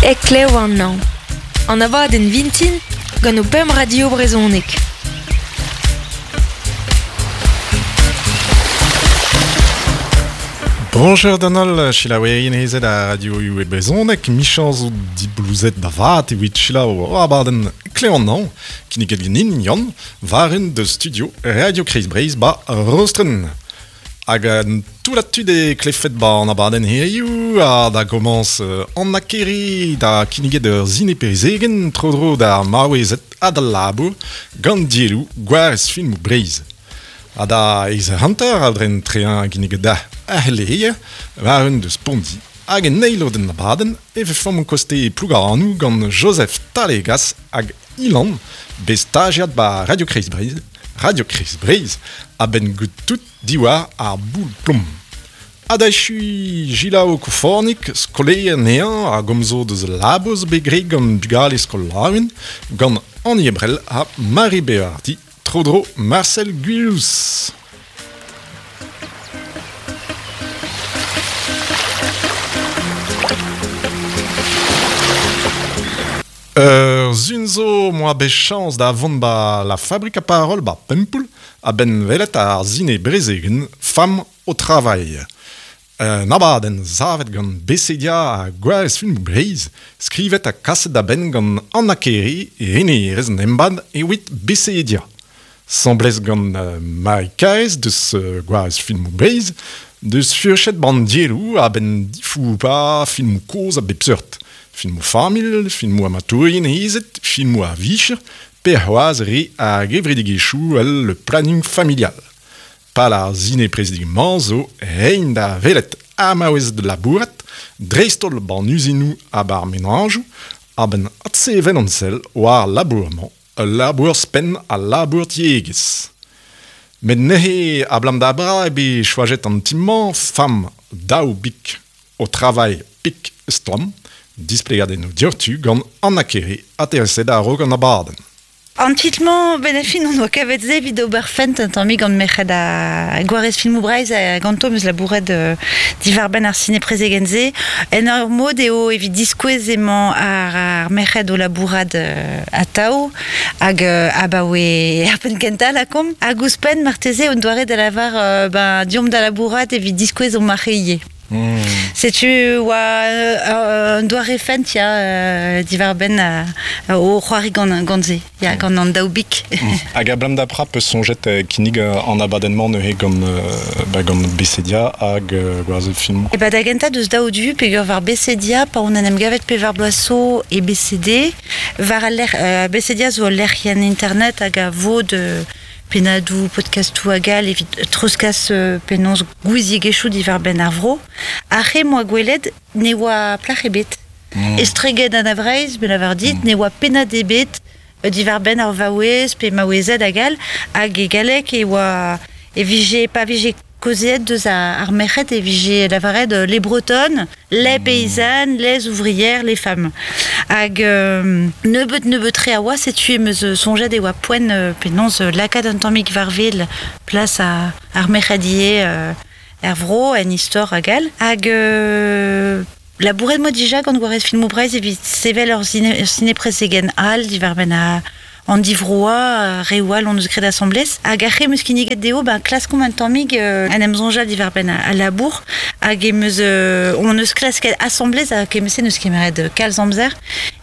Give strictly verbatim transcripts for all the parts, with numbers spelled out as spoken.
Heklev an an. An abadenn vintin gant o pemp radio brezhoneg. Bonjour d'an holl, selaouerien hezet a radio e brezhoneg, michañ zo diblouzet da vat evit selaou o abadenn Heklev an Hañv, kinniget ganin Yann, war un deus studio Radio Kreiz Breizh ba Rostren. Hag an tout la tud e klefet ba an abadenn hiziv ha da gomañs an akeri da kinniget ur zine perezegen tro-dro da maouezet ha da labour gant dielloù gwarez filmoù Breizh. Ha da eiz hanter a dren trean kinniget da aheleer war un deus Pondi hag en eil den abadenn e vefomp koste Plougarannou gant Joseph Talegas hag Ilan bet stagiad ba Radio Kreiz Breizh Radio Kreiz Breizh a ben gout tout diwar ar boul plom. Ha da echui Gilao Koufornik, skolaer neañ a gomzo deus laboz bet graet gant bugale skol Laouen, gant Annie Ebrel ha Marie Béardi, tro-dro Marcel Gwilhous. Ur zun zo moa bet chañs da vont ba la Fabrique à Parole ba Pempoull a ben welet ar zine brezegen Femme au travail. Un abadenn savet gant Bessedia ha Gwarez Filmoù Breizh, skrivet ha kaset da benn gant Anna Keri e renerez an embann evit Bessedia. Semblez gant uh, Marie Kaez deus uh, Gwarez Filmoù Breizh, deus furchet ban dielloù a ben difoupa filmoù kozh a bep seurt. Filmoù familh, filmoù amatourien hezet, filmoù a vicher, pe c'hoazh re a gevredigezhioù el le planning familial. Pal ar zine prezidigmañ zo reiñ da welet ha maouez de labourat, dreist-holl ban uzinoù ha bar menajoù, a ben adsevel an sell war labour-mañ, ul labour spenn a labour tiegezh. Met neuze ablam da bra e bet choajet an ti-mañ fam daou bik o travail pik stlamm, displegadennoù dioc'htu gant Anna Kere aterset a-raok an abadenn. An titl-mañ ben a fin on oa kavet se evit ober fent un tammig gant merc'hed a Gwarez Filmoù Breizh a ganto meus labouret euh, diwar benn ar sine prezegen se. En ur mod eo evit diskouez emañ ar, ar merc'hed o labourat euh, atav hag euh, abaoe ar penn kentañ lakaomp. Hag ouzhpenn marteze on doare da lavar euh, ben, diomp da labourat evit diskouez on marc'heie. Mm. Setu oa euh, un doare fent ya euh, diwar benn euh, o c'hoari gant, gant se, ya, gant an daou bik. Mm. Hag a blam da pra peus soñjet euh, kinnig euh, an abadenn-mañ neuze gant, euh, ba, gant Bessedia hag euh, Gwarez Filmoù. E ba da gentañ deus daou du peogwir war Bessedia pa on en em gavet pevar bloaz zo e B C D, war al lec'h, euh, Bessedia zo ul lec'hienn internet hag a vod euh, pennadoù, podcastoù hag all evit treuzkas euh, penaos gouiziegezhioù diwar benn ar vro. Ar re moa gwelet ne oa plac'h ebet. Mm. Estreget an a-Vreizh, ben avar dit, Mm. ne oa pennad ebet diwar benn ar vaouez pe maouezed hag all, hag e galleg e oa e vije, pa vije kaozeet deus ar, ar merc'hed e vije lavaret les bretonnes, les Mm. paysannes, les ouvrières, les femmes. Hag euh, nebeut nebeut tre a oa, setu em eus soñjet e oa poent euh, penaos euh, lakaat un tammig war wel plas a, ar merc'hed ivez euh, er vro, en istor hag all. Hag euh, labouret moa dija gant Gwarez Filmoù Breizh evit sevel ur zine, ur sine-prezegen all diwar benn a an divroa, reoù all on eus graet asamblez. Hag ar re em eus kinniget dezho, ben, klaskomp un tammig euh, en em soñjal diwar benn a, a labour. Hag em eus, euh, on eus klasket asamblez hag em eus eus kemeret euh, kalz amzer.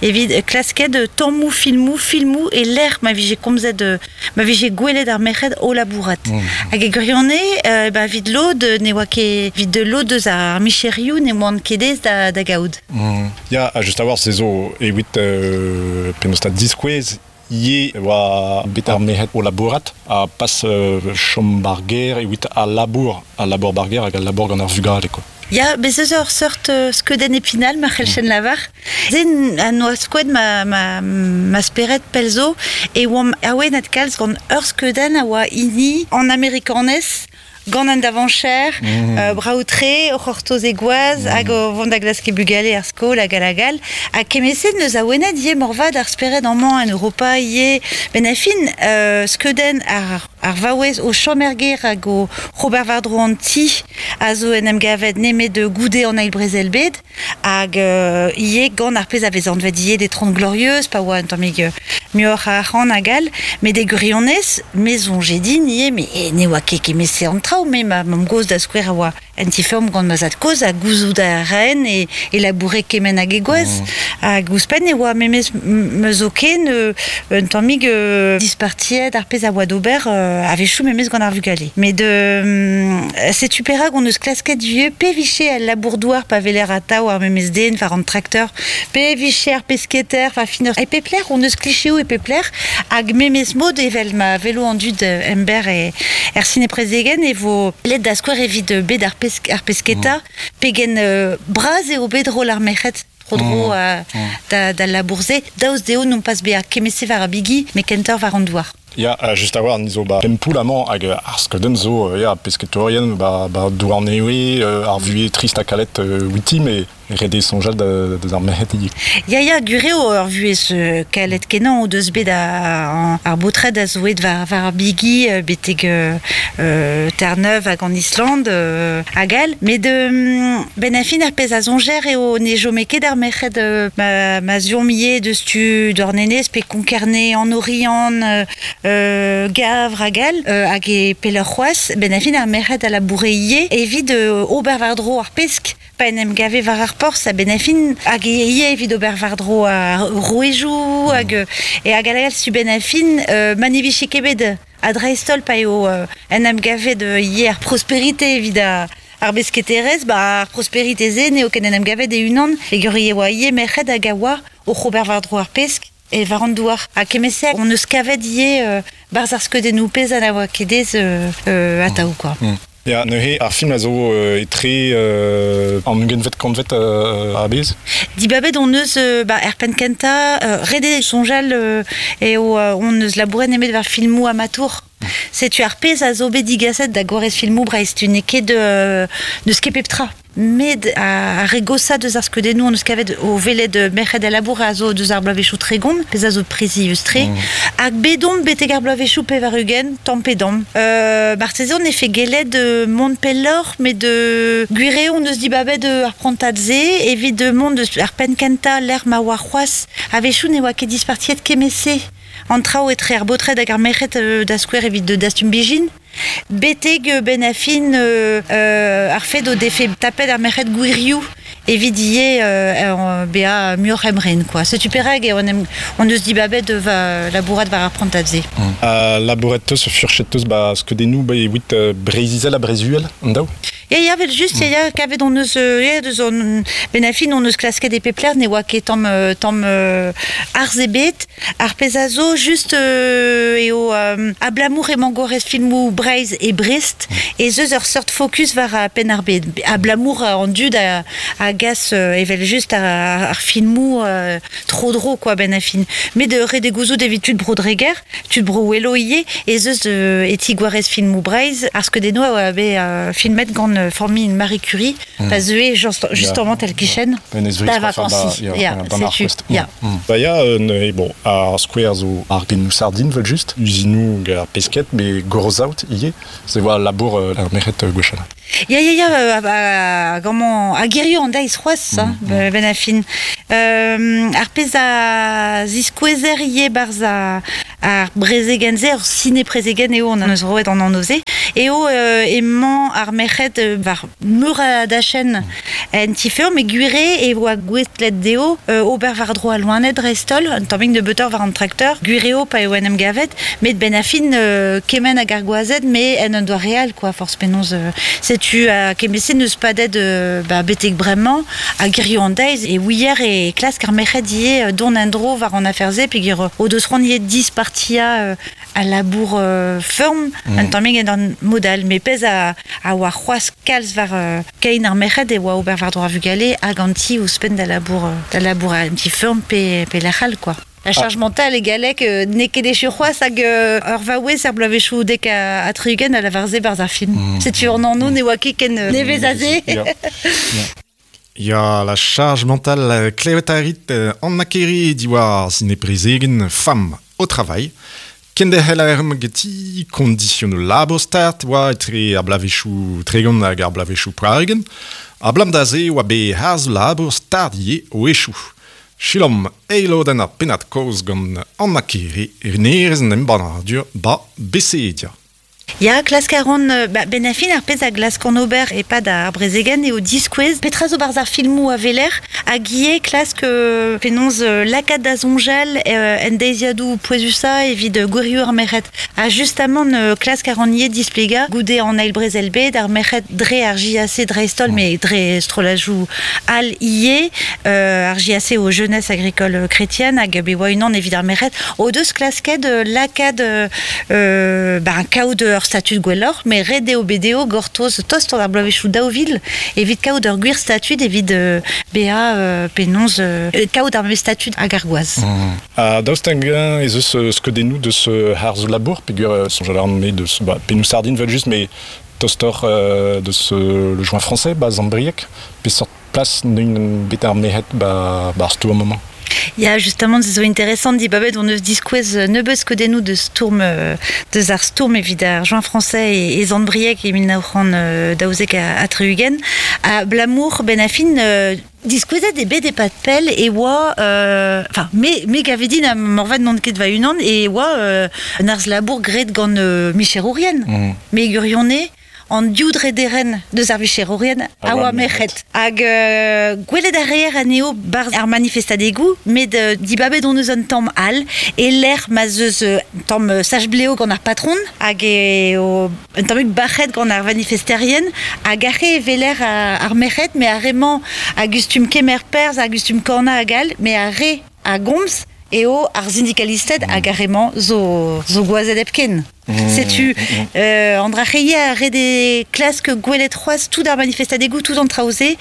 Evit klasket euh, tammoù, filmoù, filmoù e lec'h ma vije komzet, euh, ma vije gwelet ar merc'hed o labourat. Mm. Hag e gwirionez, euh, ben, evit lod, ne oa ket, evit de lod eus ar micherioù ne oant ket aes da, da gaout. Mm. Ya, ha just a-walc'h se zo evit euh, penaos ta diskouez ie oa bet ar merc'hed o labourat ha pas euh, chom bar ger evit al labour, al labour bar ger hag al labour gant ar vugale, quoi. Ya, bez eus ur seurt euh, skeudenn epinal, ma c'hell chen lavar. Zen a noa skoet ma, ma, ma spered pell zo, e oamp awenet kalz gant ur skeudenn a oa hini an amerikanez, gant an davancher, Mm. euh, braoutre, o c'hortoz e gwaz, Mm. hag o vont da glask e bugale ar skol hag hag all. Ha kemeset neus awenet ivez morvat ar spered amañ en Europa ivez. Ben a fin, euh, skeudenn ar, ar vaouez o chomerger hag o Robert Vardro an ti a zo en em gavet nemet de goude an eil brezel bed hag euh, ie gant ar pez a vez anvet ie des trente glorieuses pa oa un tammig muioc'h a arc'hant hag all met de gwirionez me soñje din ie me e, ne oa ket kemese an traoù me ma mamm gozh da skouer a oa en ti-feurm gant ma zad kozh ha gouzout a raen e, e laboure kement hag e gwaz mm. hag ouzhpenn e oa memez me zo ken euh, un tammig euh, dispartiet ar pez a oa d'ober euh, a-wechoù memez gant ar vugale. Met de euh, setu perak on eus klasket vieux pe viche al labour-douar pa veler atav ar memez den war an trakteur pe viche ar pesketer fa fineur e pepler on eus klichéoù e pepler hag memez mod evel ma velo an dud ember e er sine prezegen e vo led da skouer evit bet ar, pesk, ar pesketa mm. pegen euh, braz eo bet rol ar merc'hed tro-dro mm. uh, da, da labourze daoust dezho non pas bezañ kemese war ar bigi met kentoc'h war an douar. Ya, uh, just a-walc'h ni zo ba Pempoul amañ hag ar skeudenn zo ya, pesketourien ba, ba Douarnenez, euh, ar vuhez trist ha kalet euh, outi, met ret eo soñjal da, da ar merc'hed ivez. Ya, ya, gwir eo ur vuhez euh, kalet kenañ o deus bet a, ar baotred a zo aet war, war ar bigi betek euh, euh, Terre-Neuve hag an Islande euh, hag all. Met de, ben a fin ar pezh a soñjer eo ne chome ket ar merc'hed euh, ma, ma ziom ivez deus tu Douarnenez pe Konk-Kerne, an Oriant, euh, euh, Gavr hag all, euh, hag e pelloc'h c'hoazh, ben a fin ar merc'hed a laboure ivez evit euh, ober war-dro ar pesk pa en em gave war ar porzh a ben a fin hag ivez evit ober war-dro ar rouejoù hag e hag al su ben a fin euh, ma ne vije ket bet a dreist-holl pa eo euh, en em gavet euh, ivez ar prosperité evit a ar besketerez, ba ar prosperité ze n'eo ken en em gavet e unan e gur e oa ivez merc'hed hag a oa oc'h ober war-dro ar pesk e war an douar. Ha kemese on eus kavet ivez euh, barzh ar skeudennoù pezh a na oa ket ez euh, euh, atav quoi. Mm. Ya, neuze ar film a zo euh, etre euh, an ugentvet kantvet euh, a-bezh. Dibabet on eus euh, ba, er penn kentañ, euh, ret eo soñjal euh, eo euh, on eus labouret nemet war filmoù amatour. Setu ar pezh a zo bet digaset da gwarez filmoù Breizh, tu n'eo ket de, n'eus ket pep tra. Met a, ar re gosañ deus ar skeudennoù on eus kavet o welet merc'hed a labour a zo deus ar bloavezhioù tregont, pezh a zo prizius-tre. Mm. Hag bet omp betek ar bloavezhioù pevar-ugent, tamm pe damm. Euh, marteze on efe gellet euh, mont pelloc'h, met de gwir eo on eus dibabet ar prantad-se, evit de mont deus ar penn kentañ lec'h ma oa c'hoazh a-wechoù ne oa ket dispartiet kemese. An traoù etre ar baotred hag ar merc'hed euh, da skouer evit de dastum bijin. Betek ben a fin euh, euh, ar fed o defe tapet ar merc'hed gwirioù evit ivez euh, bezañ muioc'h emren quoi. Setu perak eo on, em, on eus dibabet va labourat war ar prantad-se. Mm. Uh, labouret teus, furchet teus ba skeudennoù ba evit uh, Breizh-Izel ha Breizh-Uhel, an daou? Ya, ya, vel just, ya, ya, kavet on eus, euh, ya, deus on, ben a fin on eus klasket e pep lec'h ne oa ket tamm, tamm euh, arz ebet. Ar pezh a zo just euh, eo euh, abalamour emañ gwarez filmoù Breizh e Brest, ez eus ur seurt focus war a penn ar bed. Abalamour an dud a, a gas euh, evel just ar, ar filmoù euh, tro-dro quoi ben a fin. Met de ret eo gouzout evit tud bro Dreger, tud bro Ouelo ivez, ez eus euh, e ti gwarez filmoù Breizh, ar skeudennoù a oa bet euh, filmet gant famille Marie Curie, mm. pa zeue just, justement tel kichen da vacances. Ya, setu. Ya. Ba ya, euh, bon, ar skouer zo ar genoù sardin vel just, uzinoù hag ar pesket, met gorozaout ivez, se oa labour euh, ar merc'hed euh, gwechall. Ya, ya, ya, euh, a, gant a gerioù an deiz c'hoazh, mm, mm. ben a fin. Euh, ar pezh a ziskouezer ivez barzh a, ar brezegenn-se, ar sine-prezegenn eo an eus roet an anv-se, eo euh, emañ ar merc'hed war meur a dachenn en ti-feurm, met gwir eo e oa gouestlet dezho euh, ober war-dro al loened dreist-holl, un tammig nebeutoc'h war an trakteur, gwir eo pa eo en em gavet, met ben a fin euh, kement hag ar gwazed, met en un doare all, quoi, forzh penaos. Euh, setu a kemese n'eus padet euh, ba, betek bremañ, a gerioù an deiz, e ouier e klask ar merc'hed ivez dont en-dro war an afer-se, peogwir o deus c'hoant ivez dispartia euh, a labour euh, feurm, mm. un tammig en an modal, met pezh a, a oa c'hoazh kalz war euh, kein ar merc'hed e oa ober war-dro ar vugale hag an ti ouzhpenn da labour, da labour un ti feurm pe, pe lec'h all, quoi. La charge ah. mentale e galleg euh, n'eo ket echu c'hoazh hag euh, ur vaouez ar bloavezhioù dek a, a tri-ugent a lavar-se barzh ar film. Mm. Setu an anv ne oa ket ken nevez aze. Ya. Ya, la charge mentale klevet a rit an akeri diwar sine-prezegenn Femme au travail. Kenderc'hel a erm geti kondisionoù labour start oa etre ar blavezhioù tregont hag ar blavezhioù pevar-ugent. A blam da se oa bet harz labour start ivez o echoù. Selaomp eil lodenn ar pennad kaoz gant Anna Kere, renerez an embannadur ba Bessedia. Ya, klask a ran, ba, ben a fin ar pezh a glask an ober e-pad ar brezegenn eo diskouez. Petra zo barzh ar filmoù a veler hag ivez klask euh, penaos euh, lakaat da soñjal euh, en deiziadoù pouezusañ evit gwirioù ar merc'hed. Ha justamant euh, klask a ran ivez displegañ goude an eil brezel bed ar merc'hed dre ar J A C dreist-holl, mm. mais dre strollajoù all ivez, euh, ar J A C o Jeunesse Agricole Chrétienne hag be oa unan evit ar merc'hed o deus klasket euh, lakaat euh, ba, un kaout ur statut gwelloc'h, mais ret eo bet eo gortoz tost an ar bloavezhioù daou vil evit kaout ur gwir statut evit euh, bezañ euh, penaos euh, kaout ar memes statut hag ar gwaz. Mm. Ha daoust hag-eñ ez eus skeudennoù deus harzoù labour, peogwir euh, soñjal a ran me deus ba, pennoù sardin vel just, mais tostoc'h euh, deus euh, le joint français, ba Sant-Brieg, peseurt plas n'eun bet ar merc'hed ba, ba ar stourm amañ. Ya, justement, se zo intéressant dibabet on eus diskouez nebeut skeudennoù deus stourm deus ar stourm evit ar joint français e, e Sant-Brieg e mil nav c'hant daouzek ha tri-ugent. Ha blamour ben a fin euh, diskouezet e bet e-pad pell e oa enfin euh, me me gavedin a morvat n'on ket va unan e oa euh, un arz labour graet gant euh, micherourien. Mm. Me gurionne an div drederen deus ar vicherourien a oa merc'hed. Hag euh, gwelet ar reer anezho barzh ar manifestadegoù, met euh, dibabet on eus un tamm all, e lec'h ma 'z eus un tamm sach-bleo gant ar patron, hag eo un tammig bac'het gant ar manifesterien, hag ar re veler ar, ar merc'hed, mais ar re-mañ a gustum kemer perzh, a gustum kornañ hag all, mais ar re a gomz eo ar syndikalisted mm. hag ar re-mañ zo, zo gwazed hepken. Mmh, Setu, mmh. euh, an dra c'heie a re de klask gwelet c'hoazh tout ar manifestadegoù, tout an traoù-se,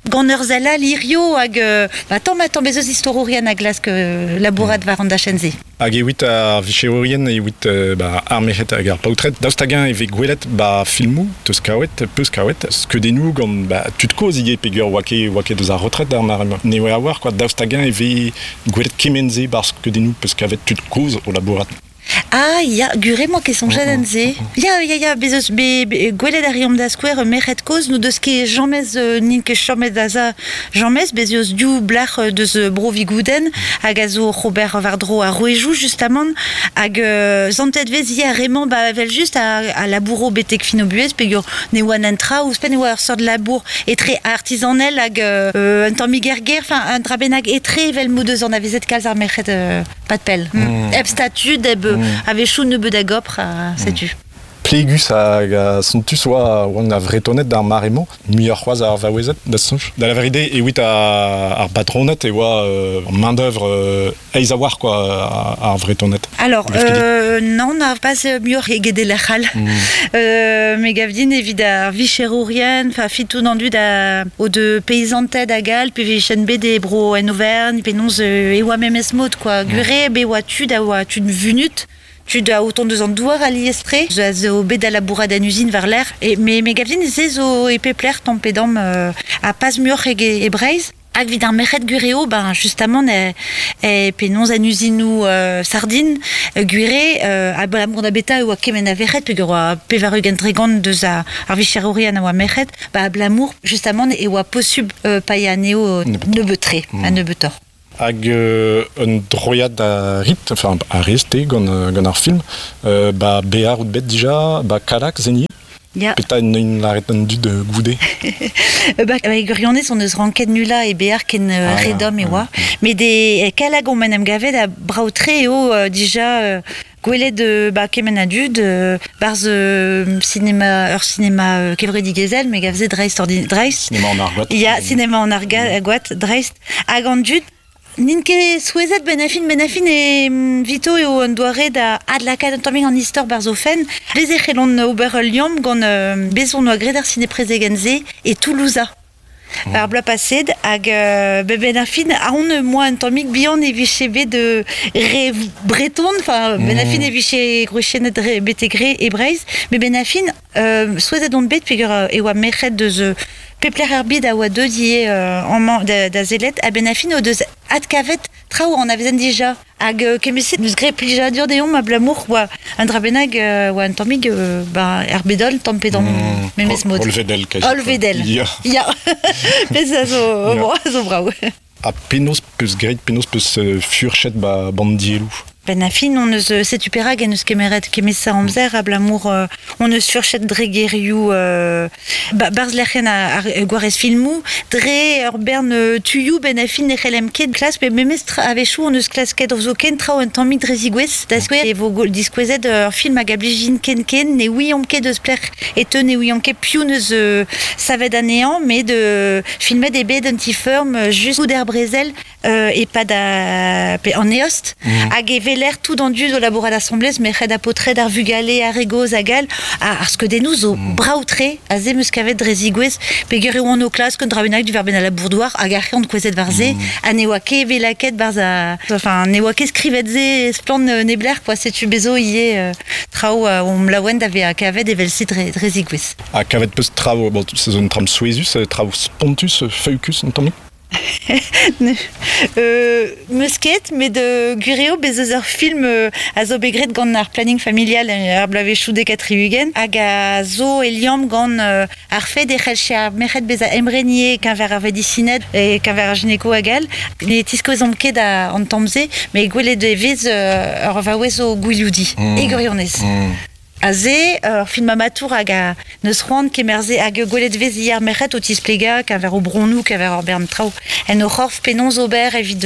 gant ur sell all hirio hag euh, ba, tamm ha tamm ez eus istorourien a glask euh, labourat war an dachenn-se. Hag evit ar vicherourien, evit euh, ba, ar merc'hed hag ar paotred, daoust hag-eñ e vez gwelet ba filmoù, teus kaouet, peus kaouet, skeudennoù gant ba, tud kozh ivez peogwir oa ket, oa ket deus ar retret d'ar mare ne oa a-walc'h, quoi, daoust hag-eñ e vez gwelet kement-se bar skeudennoù peus kavet tud kozh o labourat. Ah, ya, gure moa ket soñjet en se. Ya, ya, ya, bez eus, be, be, gwelet a reomp da skouer merc'hed kozh, n'o deus ket jamez, euh, n'int ket chomet da za jamez, bez eus div blac'h deus bro Vigouden, hag a zo Robert war-dro ar rouejoù, justamant, hag euh, zantet vez ya remañ ba vel just a, a labouro betek fin o buhez, peogwir ne oa an tra, ouzhpenn e oa ur seurt labour etre artisanel hag euh, un tammig er gêr, enfin un dra bennak etre evel m'o deus anavezet kalz ar merc'hed euh, pad pell. Mm. Hep statud, hep Mm. a-wechoù nebeut a gopr, a setu. Plegus hag a sontus oa oan a vretonet d'ar mare-mañ, muioc'h c'hoazh ar vaouezed da soñj. Da la vérité, evit ar, ar batronet e oa euh, main d'œuvre euh, aes a-walc'h quoi, ar, ar vretonet. Alors, Glev ket dit. euh, non, n'a pas muioc'h eget e lec'h all. Mm. Euh, me gav din evit ar vicherourien, enfin fitou an dud a, o de paysanted hag all, pe vichen bet e bro en Auvergne, penaos euh, e oa memes mod, quoi. Mm. Gure, be oa tud a oa tud vunut, tud a autant deus an douar a liestre, zo a zo bet da labourat an usine war l'air, e, me, me gav din se zo e pepler tamm pe damm euh, a pas muioc'h ege e Breizh. Hag evit ar merc'hed gureo, ben, justamant, e, e penaos an usinoù euh, sardine, euh, gure, euh, abalamour da beta e oa kement a verc'hed, peogwir oa pevar-ugent tregont deus a, ar vicherourien a oa merc'hed, ba abalamour, justamant, e oa posubl euh, paeañ anezho Nebeutoc'h. nebeut-tre, Mm. a nebeutoc'h. Hag euh, un droiad a rit, enfin a rez te gant, gant ar film, euh, ba bear out bet dija, ba Kallag zeni, Ya. Peta en laret an dud euh, goude. Euh, ba, ba, gurionez on eus ranket nula e bear ken euh, Ah, ya, redom e oa. mm. Mais de Kallag on men em gavet a brav-tre eo euh, dija euh, gwelet euh, ba, kement a dud, euh, barzh euh, cinéma, ur cinéma euh, kevredigezhel, me gavze dreist ordin, dreist. Cinéma en argoat. Ya, cinéma en arga, argoat, dreist. Hag an dud, n'int ket souezhet ben a fin, ben a fin e mm, vito eo an doare da adlakaat un tammig an istor barzh o fenn. Bez e c'hellont ober ul liamm gant euh, bez on oa graet ar ciné-prezegenn-se e Toulousa. Mm. Ar bloaz paset hag euh, be ben ar fin a on moa un tammig bihan e vije bet de re breton, enfin ben ar fin e vije gwriziennet re betek re e Breizh, met ben ar fin euh, souezhet on bet peogwir euh, e oa merc'hed deus euh, pepler ar bed a oa deuet ivez euh, amañ da, da zelet, ha ben ar fin o deus adkavet traoù an avezen dija. Hag euh, kemeset neus gre plijadur deomp a blamour oa un dra bennak euh, oa un tammig euh, ba er bedol tamm pe damm mm, memes mod. Olvedel kazi. Olvedel. Ya. Ya. Pez a zo, bon, a zo brao. Ha penaos peus graet, penaos peus euh, furchet ba bandielou. Ben a fin, on eus setu perak en eus kemeret kemesa amzer a blamour euh, on eus furchet dre gerioù euh, ba, barz lec'hen a, ar gwarez filmou dre ur bern euh, tuioù ben a fin ne c'hellem ket klas pe memes tra a-wechoù on eus klasket ur zo ken traoù un tammig dre zigouez da skouer e vo diskouezet ur film hag a blijin ken ken ne ouiomp ket eus plec'h e teu ne ouiomp ket piv neus euh, savet anezhañ met de filmet e bet un ti ferm just out er brezel euh, e pad a, pe an eost mm. Hag e veler tout an dud o labourat assemblez me c'hed a potred ar vugale ar egoz hag all a ar skeudennoù zo mm. braoutre a ze meus kavet dre zigouez peogwir e oan o klask un dra bennak du verben a labourdoar hag ar c'hant kouezet war ze mm. Ha ne oa ket velaket barz a enfin ne oa ket skrivet ze splann nebler quoi setu bezo ie euh, traoù euh, om laouen da vea kavet evel se dre, dre zigouez. Ha kavet peus traoù, bon, se zo un tram souezus, traoù spontus, feukus un tammig? euh, meus ket, met de gwir eo bez eus ur film euh, a zo bet graet gant ar planning familial ar bloavezhioù dek ha tri-ugent hag a zo e liamm gant euh, ar fed e c'hellche ar merc'hed bezañ emrenier keñver ar vedisined e keñver ar gynéco hag all. Ne tiskouezomp ket a, an tamm-se, met gwelet e vez euh, ur vaouez o gwilioudi, mm. E gwirionez. Mm. A ze, ur film amatour hag a neus c'hoant kemerze hag gwelet vez hier merc'hed o tisplega keñver o bronnoù, keñver ur bern traoù. En o c'horf penaos ober evit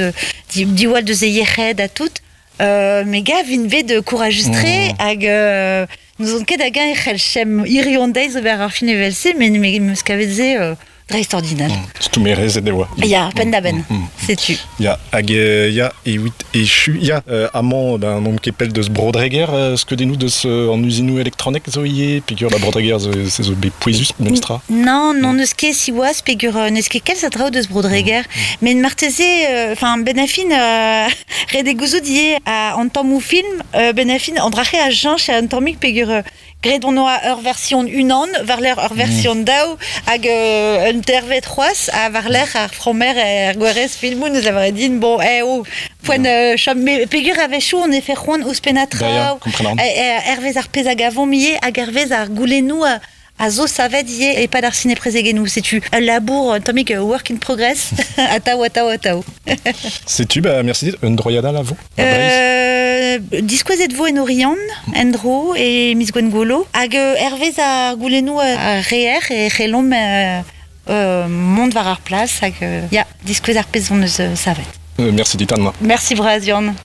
di, diwall deus e yec'hed ha tout. Euh, me gav vin vet de couragustre mm. Hag euh, nous on ket hag e c'hell chem irion deiz ober ar film evel-se, met me meus kavet ze euh, dreist ordinal. Mm. Stoumerez e oa. Ya, penn da benn, mm, mm. Setu. Ya, hag euh, ya, e wit echu, ya, euh, amañ, ben, n'omp ket pell deus Brodreger, euh, skeudennoù deus euh, an usinoù elektronek zo ivez, peogwir ba Brodreger zo, se zo bet pouezus, memestra. Non, non neus ket siwazh, peogwir euh, neus ket kalz a draoù deus Brodreger, mm. Met marteze, enfin, euh, ben a fin, euh, ret e gouzout ivez a an tammou film, euh, ben a fin, an drache a jañch an tammig peogwir euh, graet on oa ur version unan, war lec'h ur version mm. daou, hag euh, un tervet c'hoazh, ha war lec'h ar fromer er gwerez filmoù neus a din, bon, eh oh, poent euh, chom, me peogwir a-wechoù on e fe c'hoant ouzhpennañ traoù, hervez ar pezh hag avomp ivez, hag hervez ar goulennoù a, a zo savet ivez e pad ar ciné-prezegennoù. Setu ul labour un tammig work in progress, atav, atav, atav. Setu, bah, merci dit, un droiad all a vo? Euh, diskouezet vo en Oriant, en-dro e miz Gwengolo, hag euh, hervez ar goulennoù a reer e c'hellomp euh, euh, mont war ar plas, hag euh, ya, diskouez ar pezh hon eus euh, savet. Euh, merci dit, Anna. Merci bras, Yann.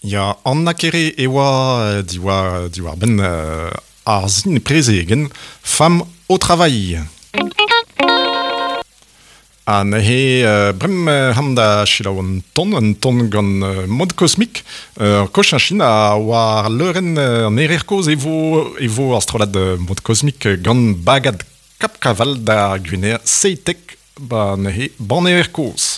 Ya, Anna Kere e oa diwar, diwar ben euh, ar zin prezegen Femme au travail. Ha neuze euh, brem euh, ham da selaou an ton, an ton gant euh, mod kosmik, euh, Kochinchine a war leurenn euh, an erer kozh e vo, e vo ar strollad euh, mod kosmik gant bagad Cap Caval da Gwener seitek ba neuze ban erer kozh.